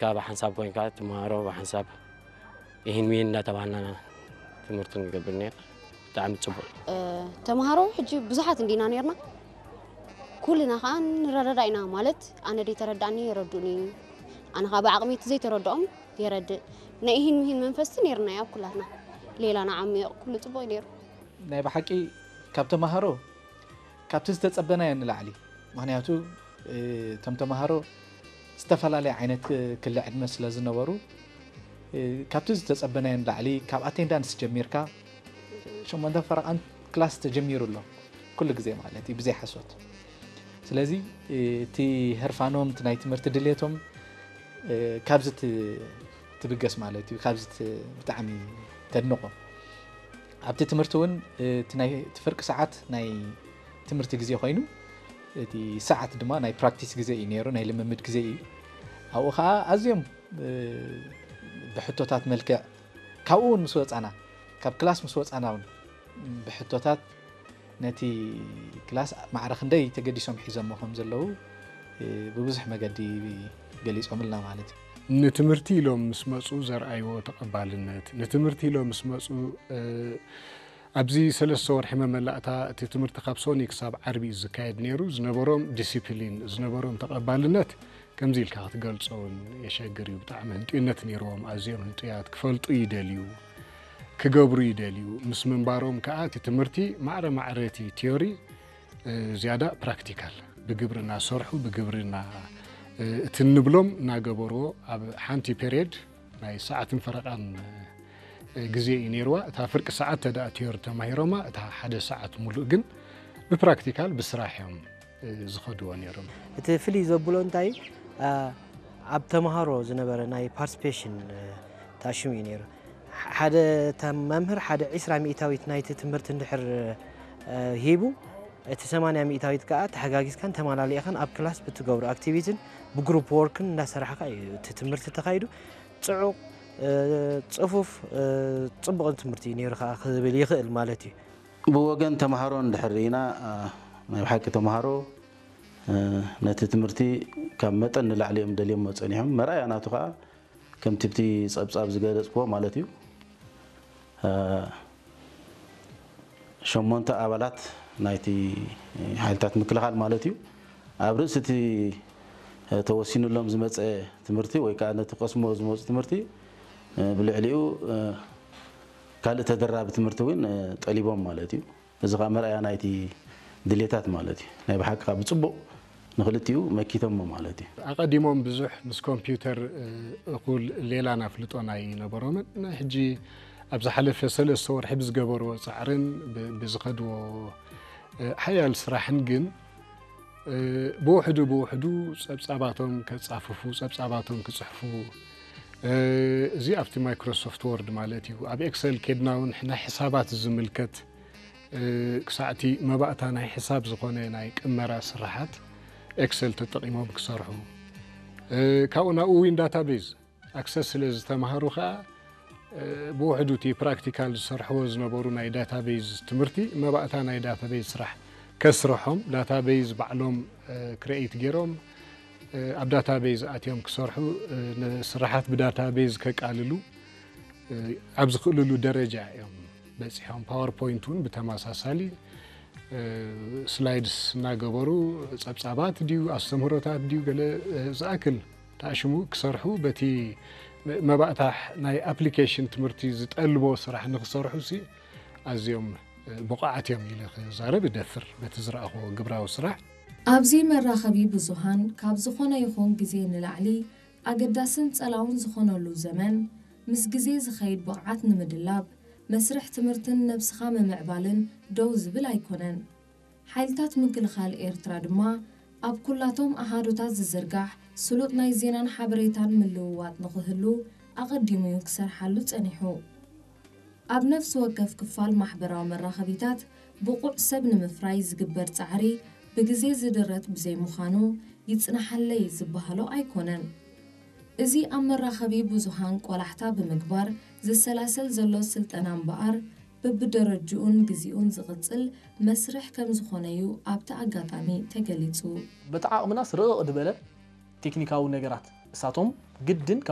ካብ ሓንሳብ ኮይንካ ትመሃሮ ብሓንሳብ ይህን ሚን እናተባህልና ትምህርቱ ንገብር ነርና። ብጣዕሚ ጽቡቕ። ተምሃሮ ሕጂ ብዙሓት እንዲና ነርና። ኩልና ከዓ ንረዳዳ ኢና ማለት ኣነ ደይተረዳእኒ የረዱኒ፣ ኣነ ከዓ ብዓቕሚ እቲ ዘይተረድኦም የረድእ። ናይ ኢሂን ምሂን መንፈስቲ ነርና ኣብ ኩላትና ሌላ ንዓሚቕ ኩሉ ጽቡቕ ነይሩ። ናይ ብሓቂ ካብ ተምሃሮ ካብቲ ዝተጸበናዮ ንላዕሊ፣ ምክንያቱ እቶም ተምሃሮ ዝተፈላለየ ዓይነት ክሊ ዕድመ ስለ ዝነበሩ፣ ካብቲ ዝተጸበናዮ ንላዕሊ ካብ ኣቴንዳንስ ጀሚርካ ሸሞንተ ፈረቓን ክላስ ተጀሚሩ ኣሎ ኩሉ ግዜ ማለት እዩ ብዘይ ሓሶት። ስለዚ እቲ ህርፋኖም እቲ ናይ ትምህርቲ ድሌቶም ካብዚ ትብገስ ማለት እዩ። ካብዚ ብጣዕሚ ተድንቖ። ኣብቲ ትምህርቲ እውን እቲ ናይ እቲ ፍርቂ ሰዓት ናይ ትምህርቲ ግዜ ኮይኑ እቲ ሰዓት ድማ ናይ ፕራክቲስ ግዜ እዩ ነይሩ፣ ናይ ልምምድ ግዜ እዩ። ኣብኡ ከዓ ኣዝዮም ብሕቶታት መልክዕ ካብኡ እውን ምስ ወፃና ካብ ክላስ ምስ ወፃና እውን ብሕቶታት ነቲ ክላስ ማዕረ ክንደይ ተገዲሶም ሒዞሞ ከም ዘለዉ ብብዙሕ መገዲ ገሊፆምልና ማለት እዩ። ንትምህርቲ ኢሎም ምስ መፁ ዘርኣይዎ ተቐባልነት፣ ንትምህርቲ ኢሎም ምስ መፁ ኣብዚ ሰለስተ ወርሒ መመላእታ እቲ ትምህርቲ ካብ ሶኒ ክሳብ ዓርቢ እዩ ዝካየድ ነይሩ። ዝነበሮም ዲሲፕሊን፣ ዝነበሮም ተቐባልነት ከምዚ ኢልካ ክትገልፆ እውን የሸግር እዩ። ብጣዕሚ ህንጡይነት ነይርዎም፣ ኣዝዮም ህንጡያት፣ ክፈልጡ ይደልዩ፣ ክገብሩ ይደልዩ። ምስ ምንባሮም ከዓ እቲ ትምህርቲ ማዕረ ማዕረ እቲ ቲዮሪ ዝያዳ ፕራክቲካል ብግብሪ እናሰርሑ ብግብሪ እቲ እንብሎም እናገበርዎ ኣብ ሓንቲ ፔሬድ ናይ ሰዓትን ፈረቓን ግዜ እዩ ነይርዋ። እታ ፍርቂ ሰዓት ተደኣ ቲዮሪ ተማሂሮማ እታ ሓደ ሰዓት ሙሉእ ግን ብፕራክቲካል ብስራሕ እዮም ዝኸድዎ ነይሮም። እቲ ፍልይ ዘብሎ እንታይ ኣብ ተምሃሮ ዝነበረ ናይ ፓርቲሲፔሽን ተኣሽሙ እዩ ነይሩ። ሓደ መምህር ሓደ ዒስራ ሚእታዊት ናይቲ ትምህርቲ እንድሕር ሂቡ እቲ ሰማንያ ሚእታዊት ከዓ ተሓጋጊዝካን ተመላሊእኻን ኣብ ክላስ ብትገብሮ ኣክቲቪቲን ብግሩፕ ወርክን እንዳሰራሕካ እዩ እቲ ትምህርቲ ተኻይዱ። ፅዑቕ፣ ፅፉፍ፣ ፅቡቕን ትምህርቲ እዩ ነይሩ ከዓ ክብል ይኽእል ማለት እዩ። ብወገን ተምሃሮ እንድሕር ርኢና ናይ ብሓቂ ተምሃሮ ነቲ ትምህርቲ ካብ መጠን ንላዕሊ እዮም ደልዮሞ ፀኒሖም። መርኣያ ናቱ ከዓ ከምቲ ብቲ ፀብፃብ ዝገለፅክዎ ማለት እዩ። ሸሞንተ ኣባላት ናይቲ ሓይልታት ምክልኻል ማለት እዩ ኣብ ርእሲ እቲ ተወሲኑሎም ዝመፀ ትምህርቲ ወይ ከዓ ነቲ ቀስሞ ዝመፁ ትምህርቲ ብልዕሊኡ ካልእ ተደራቢ ትምህርቲ እውን ጠሊቦም ማለት እዩ። እዚ ከዓ መርኣያ ናይቲ ድሌታት ማለት እዩ። ናይ ብሓቂ ከዓ ብፅቡቕ ንክልቲኡ መኪቶሞ ማለት እዩ። ኣቐዲሞም ብዙሕ ምስ ኮምፒውተር እኹል ሌላ ናፍልጦን ኣይነበሮምን። ሕጂ ኣብ ዝሓለፈ ሰለስተ ወርሒ ብዝገበርዎ ፃዕርን ብዝኸድዎ ሓያል ስራሕን ግን ብውሕዱ ብውሕዱ ፀብፃባቶም ከፃፍፉ፣ ፀብፃባቶም ክፅሕፉ፣ እዚ ኣብቲ ማይክሮሶፍት ወርድ ማለት እዩ። ኣብ ኤክሰል ኬድና እውን ናይ ሕሳባት ዝምልከት ክሳዕቲ መባእታ ናይ ሕሳብ ዝኾነ ናይ ቅመራ ስራሓት ኤክሰል ተጠቒሞም ክሰርሑ፣ ካብኡ ናብኡ ዊን ዳታቤዝ ኣክሰስ ስለ ዝተማሃሩ ከዓ ብውሕዱ እቲ ፕራክቲካል ዝሰርሕዎ ዝነበሩ ናይ ዳታቤዝ ትምህርቲ መባእታ ናይ ዳታቤዝ ስራሕ ከስርሖም፣ ዳታቤዝ ባዕሎም ክሬኤት ገይሮም ኣብ ዳታቤዝ ኣትዮም ክሰርሑ፣ ንስራሓት ብዳታቤዝ ከቃልሉ ኣብ ዝኽእልሉ ደረጃ እዮም በፂሖም። ፓወርፖይንት እውን ብተመሳሳሊ ስላይድስ እናገበሩ ፀብፃባት ድዩ ኣስተምህሮታት ድዩ ገለ ዝኣክል ተኣሽሙ ክሰርሑ በቲ መባእታ ናይ ኣፕሊኬሽን ትምህርቲ ዝጠልቦ ስራሕ ንክሰርሑ ሲ ኣዝዮም ብቑዓት እዮም ኢለ ክዛረብ እደፍር በቲ ዝረኣኽዎ ግብራዊ ስራሕ። ኣብዚ መራኸቢ ብዙሃን ካብ ዝኾነ ይኹን ግዜ ንላዕሊ ኣገዳስን ጸላውን ዝኾነሉ ዘመን፣ ምስ ግዜ ዝኸይድ ብቕዓት ንምድላብ፣ መስርሕ ትምህርትን ነብስኻ ምምዕባልን ደው ዝብል ኣይኮነን። ሓይልታት ምክልኻል ኤርትራ ድማ፣ ኣብ ኩላቶም ኣሃዱታት ዝዝርጋሕ ስሉጥ ናይ ዜናን ሓበሬታን ምልውዋጥ ንኽህሉ ኣቐዲሙ እዩ ክሰርሓሉ ጸኒሑ። ኣብ ነፍሲ ወከፍ ክፋል ማሕበራዊ መራኸቢታት ብቑዕ ሰብ ንምፍራይ ዝግበር ጻዕሪ ብግዜ ዝድረት ብዘይምዃኑ ይጽናሓለይ ዝበሃሎ ኣይኮነን። እዚ ኣብ መራኸቢ ብዙሃን ቆላሕታ ብምግባር ዝሰላሰል ዘሎ ስልጠና እምበኣር በብደረጅኡን ግዚኡን ዝቕጽል መስርሕ ከምዝኾነ'ዩ ኣብቲ ኣጋጣሚ ተገሊጹ። በቲ ዓቕምናስ ርቕቕ ዝበለ ቴክኒካዊ ነገራት እሳቶም ግድን